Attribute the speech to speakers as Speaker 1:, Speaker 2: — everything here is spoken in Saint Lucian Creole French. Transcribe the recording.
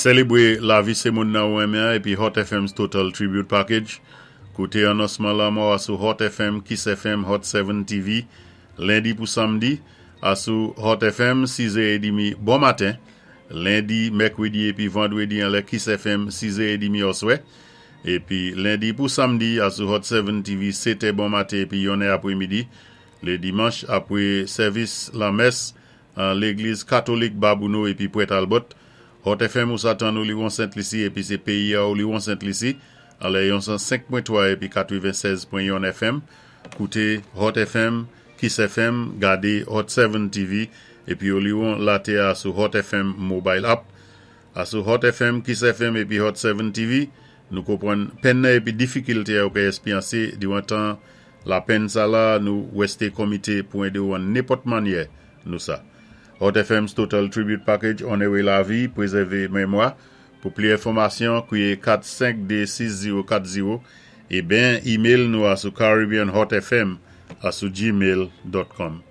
Speaker 1: Sélébwé lavi sé moun nan ou renmen epi Hot FM's Total Tribute Package. Kouté anonsman lanmò a sou Hot FM, Kiss FM, Hot 7 TV, lendi pou samdi, asou Hot FM, 6h30 bon maten, lendi, mèkwédi épi vandwédi anlè Kiss FM, 6h30 oswè, épi lendi pou samdi asou Hot 7 TV, 7 bon maten épi 1 apwémidi, lé dimanch apwé sèvis lanmès an légliz katolik Babouno épi Pwent Albert. Hot FM ou sa tann ou li Sent Lisi épi sé péyi a ou li Sent Lisi anlè 105.3 épi 96.1 FM. Kouté Hot FM, Kiss FM, gadé Hot 7 TV épi ou liwon laté a sou Hot FM Mobile App. Asou Hot FM, Kiss FM épi Hot 7 TV, nou konpwann penn épi difikilté ou ka èspéryansé diwan tan lapenn sa la, nou wèsté komité pou édé ou an nenpòt mannyè nou sa. Hot FM's Total Tribute Package Onoré lavi, prézèvé mémwa. Pou pli enfòmasyon, kwiyé 4526040 é ben email nou a sou caribbeanhotfm asou gmail.com.